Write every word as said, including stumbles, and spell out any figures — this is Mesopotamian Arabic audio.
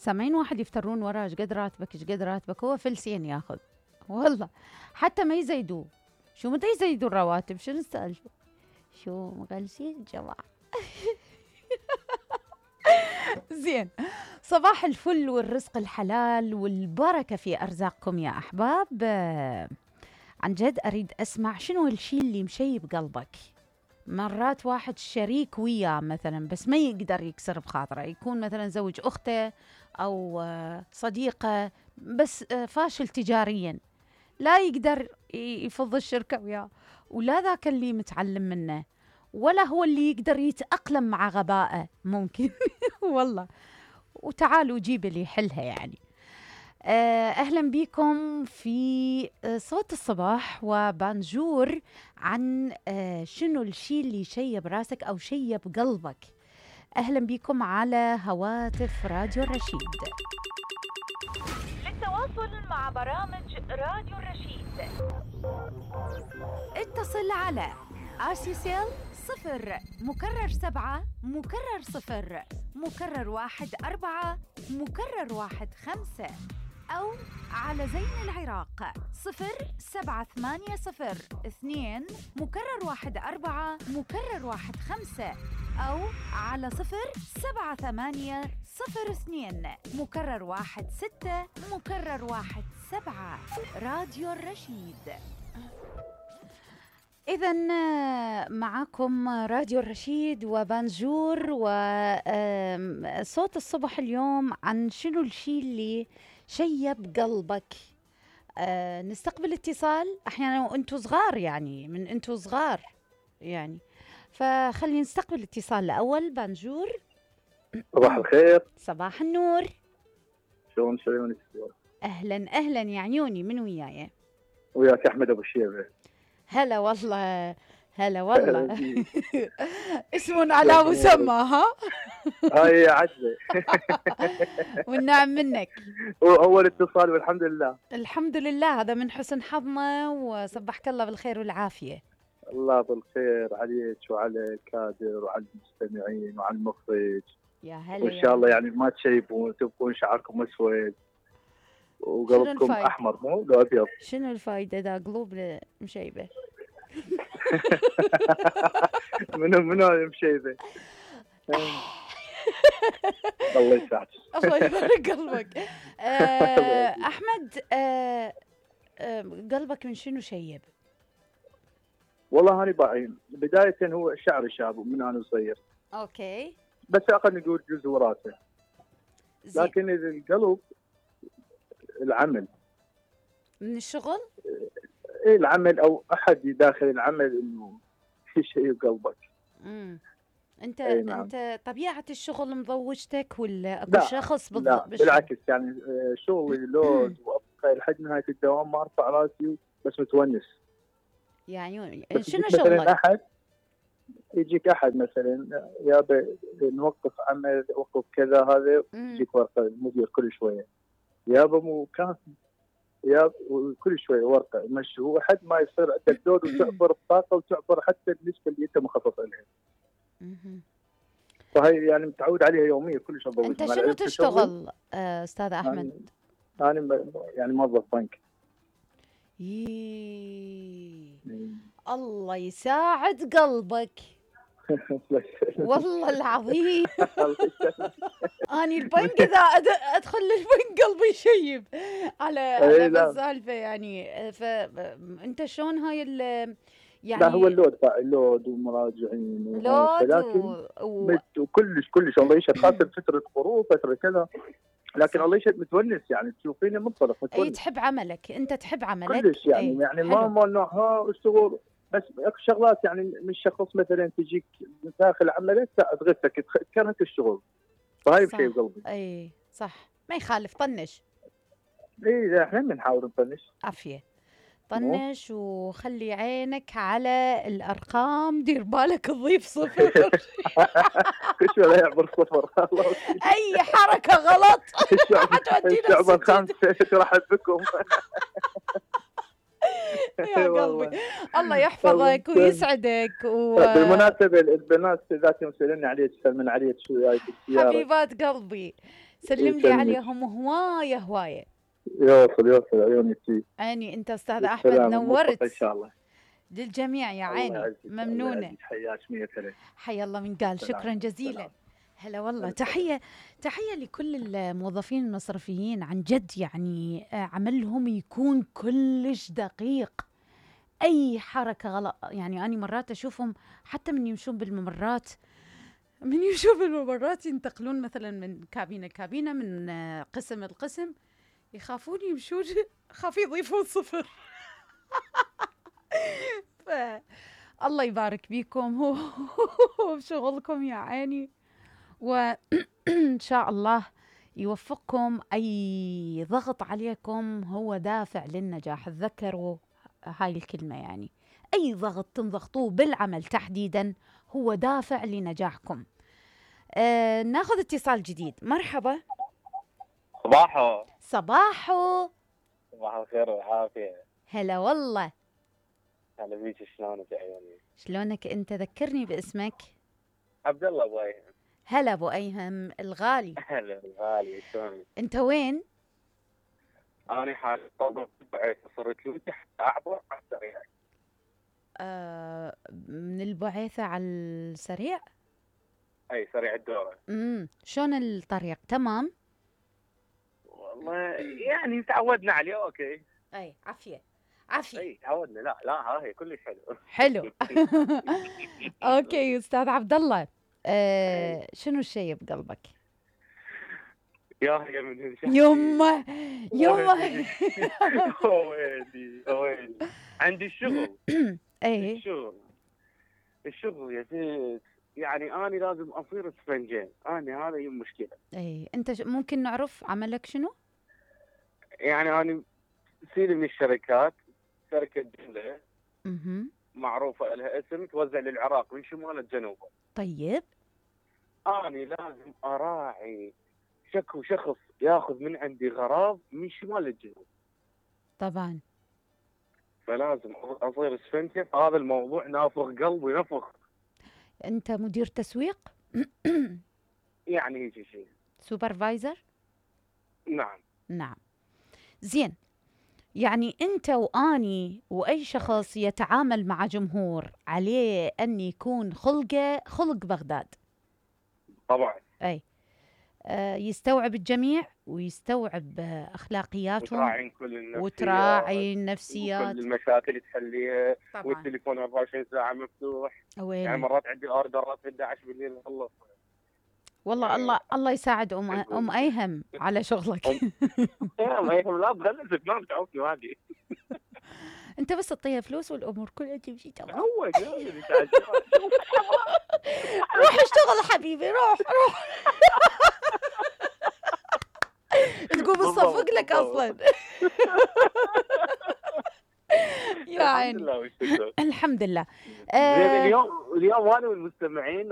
سامعين واحد يفترون وراه ايش قد راتبك ايش قد راتبك، هو فلسين ياخذ والله، حتى ما يزيدوه. شو متى يزيدوا الرواتب؟ شنو السالفه؟ شو مغلسين الجماعه. زين، صباح الفل والرزق الحلال والبركه في ارزاقكم يا احباب. آه، عن جد اريد اسمع شنو الشيء اللي مشيب قلبك. مرات واحد شريك وياه مثلا بس ما يقدر يكسر بخاطره، يكون مثلا زوج اخته او آه، صديقه، بس آه، فاشل تجاريا، لا يقدر ي- يفض الشركه وياه، ولا ذاك اللي متعلم منه، ولا هو اللي يقدر يتأقلم مع غبائه ممكن. والله، وتعالوا جيب اللي يحلها يعني. آه، أهلا بكم في آه، صوت الصباح وبانجور عن آه، شنو الشيء اللي شيب راسك أو شيب قلبك. أهلا بكم على هواتف راديو الرشيد. للتواصل مع برامج راديو الرشيد اتصل على آسيسيل صفر مكرر سبعة مكرر صفر مكرر واحد أربعة مكرر واحد خمسة، أو على زين العراق صفر سبعة ثمانية صفر اثنين مكرر واحد أربعة مكرر واحد خمسة، أو على صفر سبعة ثمانية صفر اثنين مكرر واحد ستة مكرر واحد سبعة. راديو الرشيد. إذن معكم راديو الرشيد وبانجور وصوت الصبح اليوم عن شنو الشيء اللي شيب قلبك. أه نستقبل اتصال أحيانا وأنتوا صغار، يعني من أنتوا صغار يعني، فخلي نستقبل اتصال الأول. بانجور، صباح الخير. صباح النور. شلون شلونك؟ أهلا أهلا يا عيوني، من وياي؟ وياك أحمد أبو الشيبة. هلا والله، هلا والله. اسم على مسمى. ها هاي عجزة. والنعم منك. أول اتصال والحمد لله. الحمد لله، هذا من حسن حظنا، وصبحك الله بالخير والعافية. الله بالخير عليك وعلى الكادر وعلى المستمعين وعلى المخرج. يا هلا، وإن شاء الله يعني ما تشيبون تبقون شعركم أسود وقلبكم أحمر مو لو أبيض. شنو الفايدة ذا قلوب مشيبة؟ منو منو مشيبة؟ الله يسعدك. الله يبارك قلبك. آه، أحمد، آه، آه، قلبك من شنو شيب؟ والله هاني باعين بداية هو شعري شاب من أنا صغير. أوكي. بس أقل نقول جزء وراثة. لكن القلب العمل. من الشغل؟ ايه العمل او احد داخل العمل انه في شيء بقلبك. امم انت إيه نعم. انت طبيعه الشغل مضوجتك ولا اكو لا شخص بالضبط؟ لا بالشغل؟ بالعكس، يعني شغلي لود وابقى لحد نهايه الدوام ما ارفع راسي بس متونس. يا عيوني، بس شنو مثلاً شغلك؟ احد يجيك احد مثلا يا نوقف عمل وقف كذا، هذا يجيك ورقه المدير كل شويه يابا مو كافي، يا كل شوي ورقه مشي، هو حد ما يصير عندك لود وتعبر الطاقه وتعبر حتى النسبه اللي انت مخصص لها. فهي يعني متعود عليها يوميا كلش اضوج. انت شنو تشتغل آه، استاذ احمد؟ انا يعني, يعني موظف بنك. يي الله يساعد قلبك. والله العظيم. اني البنك اذا ادخل للبنك قلبي يشيب على على السالفه يعني. فانت شلون هاي يعني؟ لا هو اللود اللود ومراجعين لود و... وكلش كلش الله يشهد، خاصه فتره خروج فتره كذا، لكن الله يشهد متونس يعني تشوفيني منطلق متونس. اي تحب عملك، انت تحب عملك كلش يعني. أي. يعني ما ما نوع ها الشغل بس اكو شغلات يعني من شخص مثلا تجيك من داخل عملك تغثك تكرهك الشغل، فهاي بشيء بقلبي. اي صح، ما يخالف، طنش. اي احنا بنحاول نطنش. عافيه، طنش وخلي عينك على الارقام، دير بالك تضيف صفر. كل شوي لا يعبر صفر. اي حركه غلط حتودينا الشعب الخامسه ترحب بكم. يا قلبي الله يحفظك ويسعدك. و... بالمناسبه البنات ذاتهم يسالوني عليك من عليك شو جاي بالسياره. حبيبات قلبي سلم لي يسلمك. عليهم هوايه هوايه. يوصل يوصل عيوني فيه. عيني انت استاذ احمد بالسلامة، موفق ان نورت شاء الله. للجميع يا الله عيني. يعزك، الله ممنونه. يعزك. حياك مية هلا. حيا الله من قال. سلام. شكرا جزيلا. سلام. هلا والله. هلا. تحيه تحيه لكل الموظفين المصرفيين عن جد، يعني آه، عملهم يكون كلش دقيق. اي حركه غلط يعني اني مرات اشوفهم حتى من يمشون بالممرات، من يمشون بالممرات ينتقلون مثلا من كابينه كابينه، من آه، قسم لقسم، يخافون يمشون خاف يضيفون صفر. ف الله يبارك بيكم وبشغلكم يا عيني، وإن شاء الله يوفقكم. أي ضغط عليكم هو دافع للنجاح، تذكروا هاي الكلمة، يعني أي ضغط تنضغطوه بالعمل تحديدا هو دافع لنجاحكم. آه ناخذ اتصال جديد. مرحبا. صباحو. صباحو. صباح الخير والعافية. هلا والله. هلا بيك، شلونك يا عيوني؟ شلونك انت؟ ذكرني باسمك. عبد الله ابو ايهم. هلا ابو ايهم الغالي. هلا الغالي، شلونك؟ انت وين؟ انا حاليا طبعا صرت لوجه اعبر على السريع. آه من البعيثة على السريع؟ اي سريع الدورة. امم شلون الطريق؟ تمام؟ والله يعني تعودنا عليه. اوكي. اي عافية عافية. اي تعودنا. لا لا ها هي كلش حلو. حلو. اوكي استاذ عبد الله، آه شنو الشيء بقلبك؟ يا هي من هالشيء. يمه يمه. ويلي ويلي. عندي الشغل. اي الشغل الشغل يا زيد، يعني أنا لازم أصير اسفنجين. أنا هذا هي المشكلة. اي انت ش- ممكن نعرف عملك شنو؟ يعني أنا سيري من الشركات، شركة جملة اها معروفة لها اسم، توزع للعراق من شمال لجنوب. طيب. أنا لازم أراعي شكو شخص ياخذ من عندي غراض من شمال للجنوب، طبعا. فلازم أصير اسفنجة. هذا الموضوع نافخ قلبي نفخ. انت مدير تسويق؟ يعني هيك شيء. سوبرفايزر؟ نعم. نعم. زين، يعني أنت وأني وأي شخص يتعامل مع جمهور عليه أن يكون خلقه خلق بغداد. طبعا. أي آه يستوعب الجميع ويستوعب آه أخلاقياتهم وتراعي كل النفسيات وتراعي النفسيات. وكل المشاكل تحليها. طبعا. والتليفون أربعة وعشرين ساعة مفتوح. ويلي. يعني مرات عندي اوردرات في احد عشر بالليل نخلص. والله يعني الله الله يساعد أم أم أيهم على شغلك. يا ما يهم، لا تغلسك، ما بتعوفني واقي. أنت بس تعطيها فلوس والأمور كلها تمشي تمام. هو جاي تعال. روح اشتغل حبيبي، روح روح. تقوم تصفق لك اصلا. يا عيني. الحمد لله. الحمد لله. زين، آه اليوم اليوم انا والمستمعين